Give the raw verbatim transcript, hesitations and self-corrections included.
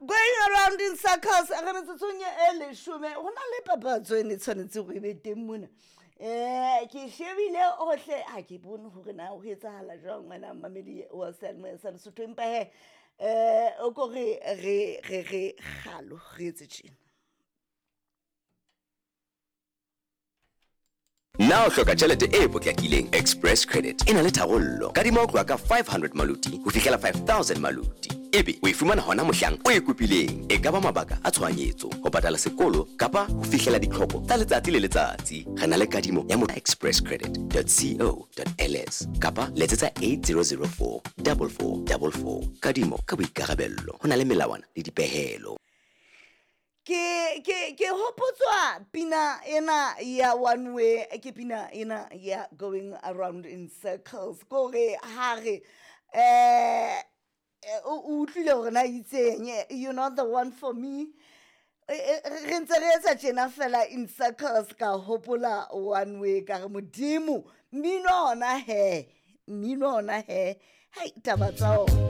Going around in circles, re metsotsong e leshome go na le papatso e ne tshwanetse go e be teng mona. Um ke shebile ohle, ha ke bone hore na ho etsahala jwang ngwana mmamedi wa seyalemoya sa Lesotho, empa he um o ko re re re re kgalo re etse tjena. Na o hloka tjhelete e potlakileng? Express Credit e na le tharollo. Kadima ho tloha ka five hundred maluti ho fihlela five thousand maluti. Ebe o e fumana hona mohlang o e kopileng. E ka ba mabaka a tshohanyetso, ho patala sekolo kapa ho fihlela ditlhoko tsa letsatsi le letsatsi. Re na le kadimo ya mo express credit dot co dot ls kapa letsetsa eight zero zero four double four double four. Kadimo ka boikarabello. Ho na le melawana le dipehelo. Ke ke ke hopotswa pina ena ya one way, ke pina ena ya going around in circles, kore ha re eh o utlwile hore na itseng, you're not the one for me, re ntse re etsa tjena fela in circles. Ka hopola one way, ka re modimo mmino ona he, mmino ona he, hai taba tsa ona.